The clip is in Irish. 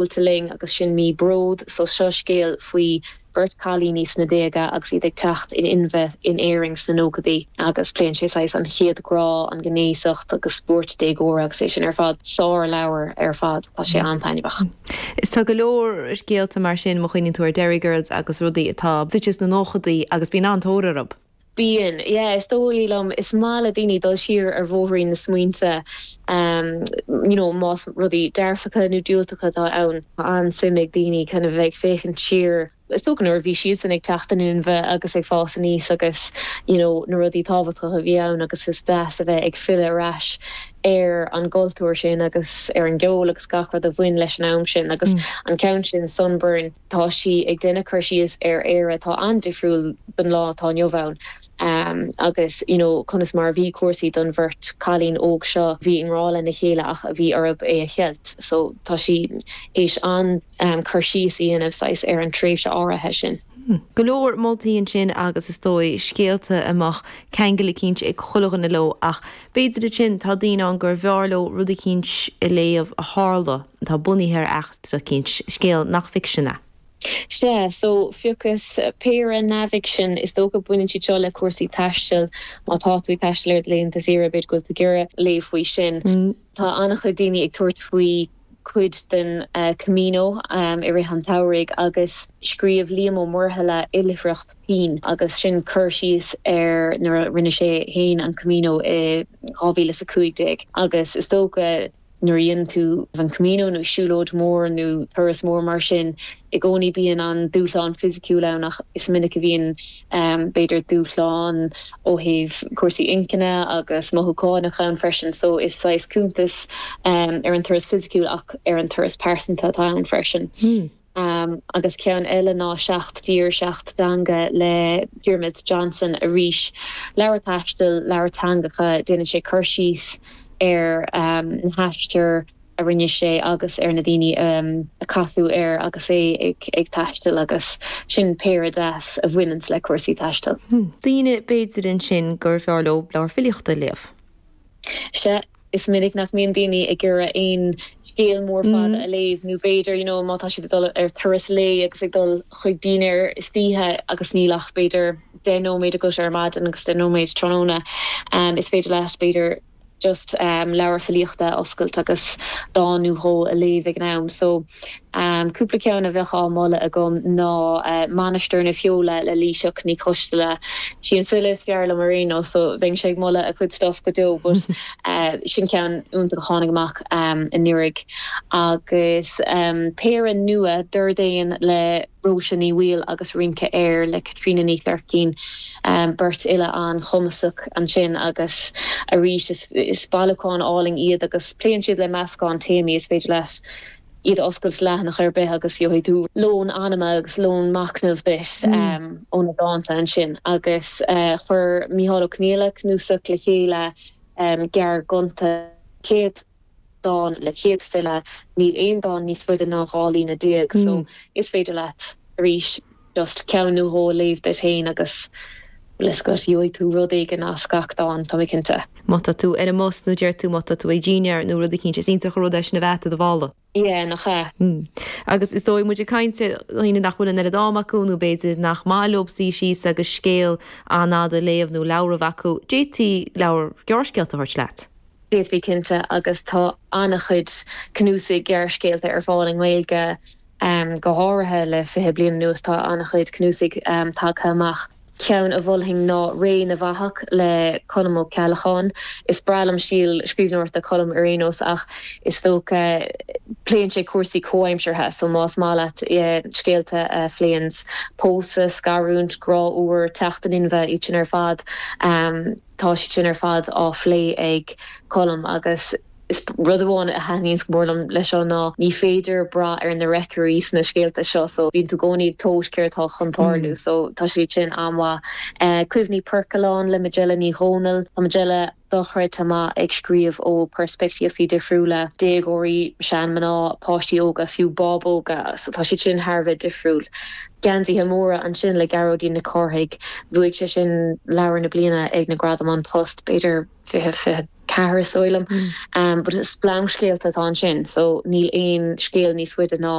Buailte linn agus sin mí Bród so seo scéal faoi bheirt cailíní sna déaga agus iad ag teacht in inmhe in Éirinn sna nóchaidí agus pléann sé saghas an chéad ghrá, an ghnéasacht agus buairt déagóra agus é sin ar fad. Sár leabhar ar fad, tá sé an-taitneamhach. Is tá go leor scéalta mar sin má chuimhníonn tú ar Derry Girls agus rudaí atá suite sna nóchaidí agus bíonn an-tóir orthu. Bíonn, yeah, is dóigh liom. Is maith le daoine dul siar ar bhóithrín na smaointe, you know, más rudaí dearfacha nó diúltacha atá ann. Tá an-suim ag daoine kind of bheith ag féachaint siar, is dócha nuair a bhí siadsan ag teacht in inmhe agus ag fás aníos agus, you know, na rudaí tábhachtacha a bhí ann agus is deas a bheith ag filleadh ar ais ar an gcultúr sin agus ar an gceol agus gach rud a bhain leis an am sin agus an ceann sin, Sunburn. Tá sí ag déanamh cur síos ar Éire atá an-difriúil don lá atá inniu ann agus you know conas mar a bhí cúrsaí don bheirt cailín óg seo a bhí i ngrá lena chéile ach a bhí orthu é a cheilt. So tá sí théis an-cur síos a dhéanamh saghas ar an tréimhse áirithe sin. Go leor moltaí ansin agus is dóigh scéalta a mbeadh ceangal eicínt ag chuile dhuine leo ach b'fhéidir ansin tá daoine ann gur bhfearr leo rud eicínt a léamh a tharla atá bunaithe ar eachtra eicínt, scéal nach ficsean é. Sea, so phiocas péire neamhfhicsin, is dócha baineann siad seo le cúrsaí taistil, má tá tú ag taisteal ar do laethanta saoire b'fhéidir go bhfuil tú ag iarraidh léamh faoi sin. Tá an-chuid daoine ag tabhairt faoi cuid den Camino i rith an tsamhraidh agus scríobh Liam Ó Muirthile Oilithreacht Pinn agus sin cur síos ar nuair a rinne sé féin an Camino i 2015 agus is dócha Nuair a dhéanann tú an Camino nó siúlóid mhór nó turas mór mar sin, i gcónaí bíonn an dúshlán fisiciúil ann ach is minic a bhíonn b'fhéidir dúshlán ó thaobh cúrsaí inchinne agus mothúchánach ann freisin. So is saghas cuntas ar an turas fisiciúil ach ar an turas pearsanta atá ann freisin. Agus ceann eile ná Seacht dTír, Seacht dTeanga le Diarmuid Johnson arís. Leabhar taistil, leabhar teangacha, déanann sé cur síos ar na haistir a rinne sé agus ar na daoine a casadh air agus é ag taisteal agus sin péire deas a bhaineanns le cúrsaí taistil. Daoine b'fhéidir ansin gur fearr leo leabhar filíochta a léamh. Sea. Is minic nach mbíonn daoine ag iarraidh aon scéal mór fada a léamh nó b'fhéidir you know má tá siad ag dul ar turas lae agus ag dul chuig dinnéar istoíche agus níl ach b'fhéidir 10 nóiméad agat ar maidin agus 10 nóiméad tráthnóna is féidir leat b'fhéidir just leabhar filíochta a oscailt agus dán nó dhó a léamh ag an am. So cúpla ceann a bheadh á moladh agam ná Mainistir na Feola le Laoighseach Ní Choisteala. Sí an file is fearr liom ar aon nós so bheinnse ag moladh a cuid stuff go deo but sin ceann iontach a tháinig amach anuraidh. Agus péire nua, Dord Éan le Róise Ní Bhaoill agus Rince Aeir le Caitríona Ní Chleircín, beirt fhile an-chumasach ansin agus arís is bailiúchán álainn iad agus pléann siad le meascán téamaí is féidir leat iad a oscailt leathanach ar bith agus gheobhaidh tú lón anama agus lón machnaimh duit ó na dánta ansin. Agus chuir Mícheál Ó Conghaile cnuasach le chéile, gearrghonta, 100 dán le 100 file, níl aon dán níos faide ná 12 líne so is féidir leat arís just ceann nó dhó a léamh duit féin agus bhfuil fhios agat, gheobhaidh tú rud éigin as gach dán, tá mé cinnte. Má tá tú ar an mbus nó deir tú má tá tú ag dinnéar nó rud eicínt, is iontach an rud é sin a bheith i do mhála. Yeah, nach ea? Agus is dóigh, muid ag caint ar dhaoine nach bhfuil an oiread am acu nó b'fhéidir nach maith leo suí síos agus scéal an-fhada a léamh nó leabhar a bheith acu, d'fhéadfaí leabhar gearrscéalta a thabhairt leat. D'fhéadfaí cinnte, agus tá an-chuid cnuasaigh gearrscéalta ar fáil i nGaeilge. Go háirithe le 20 bliain anuas tá an-chuid cnuasaigh tagtha amach. Ceann a mholfainn ná Ré na bhFathach le Colm Ó Ceallacháin. Is breá liom stíl scríbhneoireachta Colm ar aon nós ach is dócha pléann sé cúrsaí comhaimseartha so más maith leat scéalta a phléanns pósadh, scarúint, grá úr, teacht in inmhe, iad sin ar fad, tá siad sin ar fad á phlé ag Colm agus Is rud amháin a thaitníonns go mór liom leis seo ná ní féidir brath ar na reacairí sna scéalta seo so bíonn tú i gcónaí ag tomhais céard atá chun tarlú so tá siad sin an-mhaith. Cuimhní Poircealláin le Majella Ní Dhomhnaill. Tá Majella dochreidte maith ag scríobh ó peirspictíochtaí difriúla, déagóirí, seanmhná, páistí óga, fiú bábóga so tá siad sin thar a bheith difriúil. Geansaithe Móra ansin le Gearóidín Nic Cárthaigh. Bhuaigh sé sin Leabhar na Bliana ag na Gradaim An Post b'fhéidir 20 24. 4 is dóigh liom. But is splancscéalta atá ansin so níl aon scéal níos faide ná.